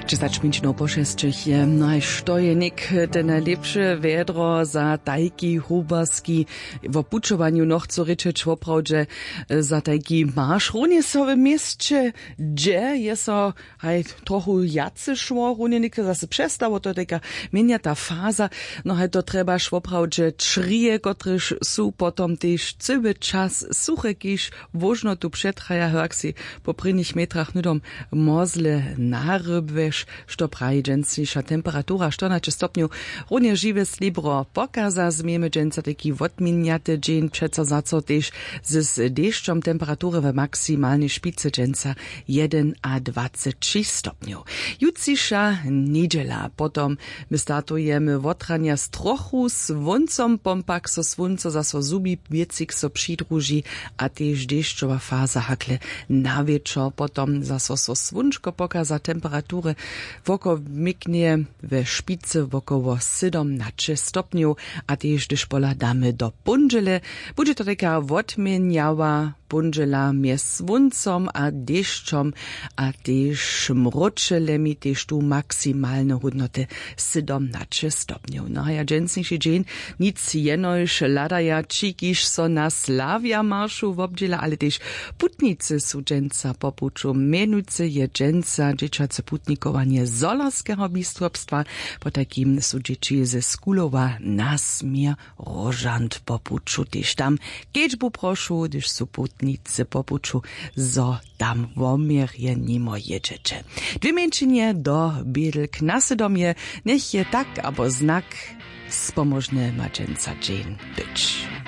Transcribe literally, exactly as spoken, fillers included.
Dźesać minut po šesćich je. No a što je něk te najlěpše wjedro za tajki huberski? Wo pućowanju nochcu rěčeć woprawdźe, za tajki marš runje so w měsće, hdźe je so haj trochu wjace šło, runje něk zaso přestało, to je tajka měnjata faza. No haj to trjebaš woprawdźe črije, kotrež su potom tež cyły čas suche, kiž wóžnotu přetraja, hak sej po prěnich metrach hnydom mozle narybłeš. Što praji dźensniša temperatura? Štyrnaće stopnjow. Runje žiwe slěbro pokaza, změjemy dźensa tajki wotměnjate dźeń, přeco zaco tež z dešćom. Temperatury w maksimalnej špicy dźensa jedynadwaceći stopnjow. Jutřiša njedźela potom. My startujemy wotranja z trochu słóncom, pompak so słónco zaso zhubi, wěcik so přidruži a tež dešćowa faza hakle na wječor. Potom zaso so słónčko pokaza, temperatury wokomiknje we špicy wokoło sydomnaće stopnjow. A tež hdyž pohladamy do póndźele, budźe to tajka wotměnjała póndźela mjez słóncom a dešćom a tež mróčelemi, tež tu maksimalne hódnoty sydomnaće stopnjow. No a ja dźensniši dźeń nic jenož hladaja ći, kiž so na slawja maršu wobdźěla, ale tež putnicy su dźensa po puću. Mjenujcy je dźensa dźěćace putnikowanje Zhorjelskeho biskopstwa, potajkim su dźěći ze Skulowa na směr Róžant po puću tež tam kedźbu prošu, hdyž su putnicy po puću, zo tam woměrje nimo jědźeće. Dwě mjeńšinje do bědlk na sydomje. Njech je tak abo znak spomóžne, ma dźensa dźeń być.